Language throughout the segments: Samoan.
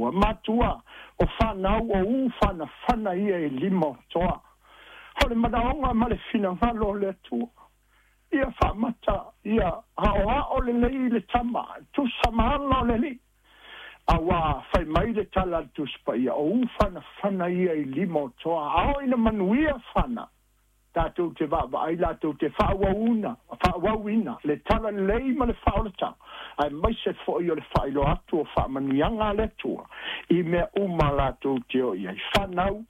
Atua. Matua o fanau o ufanafana ia i lima o toa. O le manaoga ma le finagalo o le Atua ia faamata ia aoao lelei le tama tusa ma ala o le Alii, auā fai mai le tala a le Tusi Paia, o ufanafana ia i lima o toa. A oo ina manuia fana, tatou te vaavaai latou te faaauauina faaauauina le tala lelei ma le faaolataga, aemaise foi o le faailoa atu o faamanuiaga a le Atua i mea uma latou te o i ai. Fanau,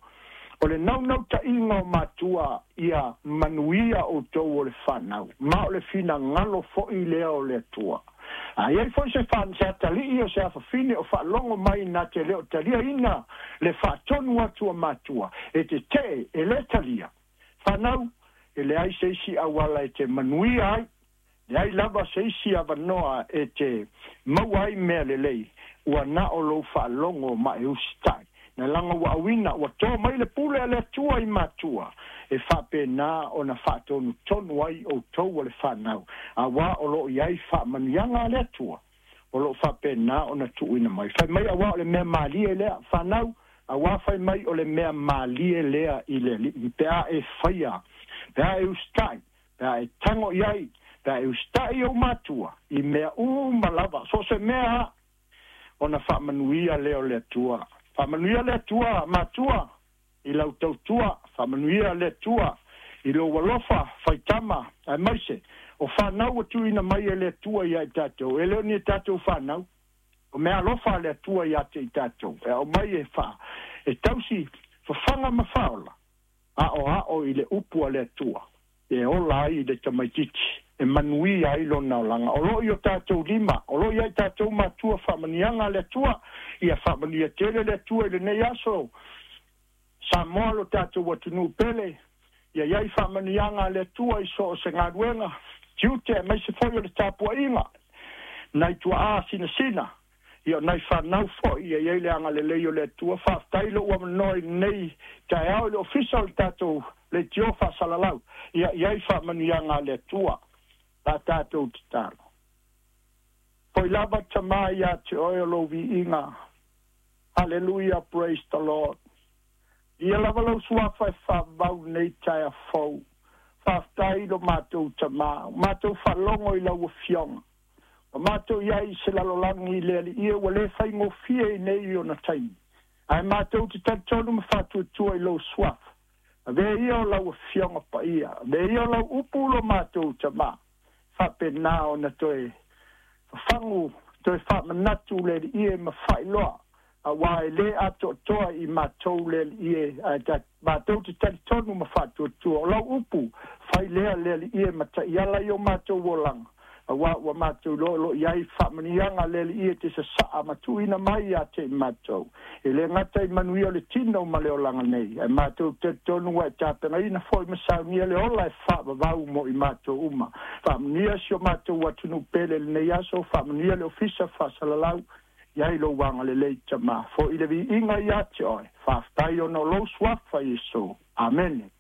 o le naunautaiga o matua ia manuia outou o le fanau, ma o le finagalo foi lea o le Atua. A i ai foi se se atalii o se afafine o faalogo mai na te le o taliaina le faatonu atu a matua, e tetee e lē talia. Fanau, e leai se isi auala e te manuia ai, leai lava se isi avanoa e te maua ai mea lelei, ua na o lou faalogo ma e usitai. Na laga ua auina ua to mai le pule a le Atua i matua e faapena ona faatonutonu ai outou o le fanau, auā o loo i ai faamanuiaga a le Atua o loo faapena ona tuuina mai. Fai mai auā o le mea malie lea, fanau, auā fai mai o le mea malie lea i le Alii pe a e faia, pe a e usitai, pe a e tago i ai, pe a e usitai i ou matua i mea uma lava, so o se mea a ona faamanuia lea o le Atua. Faamanuia le Atua, matua, i lau tautua. Faamanuia le Atua i lou alofa faitama, aemaise o fanau ua tuuina mai e le Atua ia i tatou. E le o ni tatou fanau, o mea alofa a le Atua ia te i tatou, e aumai e faa e tausi fafaga ma faaola, aoao i le upu a le Atua e ola ai le tamaitiiti, e manuia ai lona olaga. O loo i o tatou lima, o loo ia i tatou matua faamanuiaga a le Atua. Ia faamanuia tele le Atua i lenei aso Samoa, lo tatou atunuu pele. Ia iai faamanuiaga a le Atua i so o se galuega tiute, aemaise foi o le tapuaiga nai tuaa sinasina, ia o nai fanau foi. Ia iai le agalelei o le Atua. Faafetai lou avanoa i lenei taeao i le ofisa o le tatou leitio faasalalau. Ia iai faamanuiaga a le Atua. La tatou tatalo. Foi lava, Tamā, ia te oe o lou viiga. Hallelujah, praise the Lord. Ia lava lau suafa e faavavau lenei taeao fou. Faafetai lo matou Tamā, matou faalogo i lau Afioga. Ua matou i ai i se lalolagi i le Alii e ua lē faigofie i nei ona taimi, ae matou te talitonu ma faatuatua i lou suafa. Avea ia o lau Afioga Paia, avea ia o lau upu lo matou Tamā, faapena ona toe fafagu, toe faamanatu le Alii e ma faailoa, auā e lē atoatoa i matou le Alii e, ae matou te talitonu ma faatuatua o lau upu fai lea le Alii e ma taiala i o matou olaga, auā ua matou iloa o loo i ai faamanuiaga le Alii e te sasaa ma tuuina mai ia te i matou, e lē gata i manuia o le tino ma le olaga nei, ae matou talitonu ua e tapenaina foi ma saunia le ola e faavavau mo i matou uma. Faamanuia si o matou atunuu pele lenei aso. Faamanuia le ofisa faasalalau. I ai lou agalelei, Tamā, foi le viiga ia te oe. Faafetai ona o lou suafa Iesu. Amene.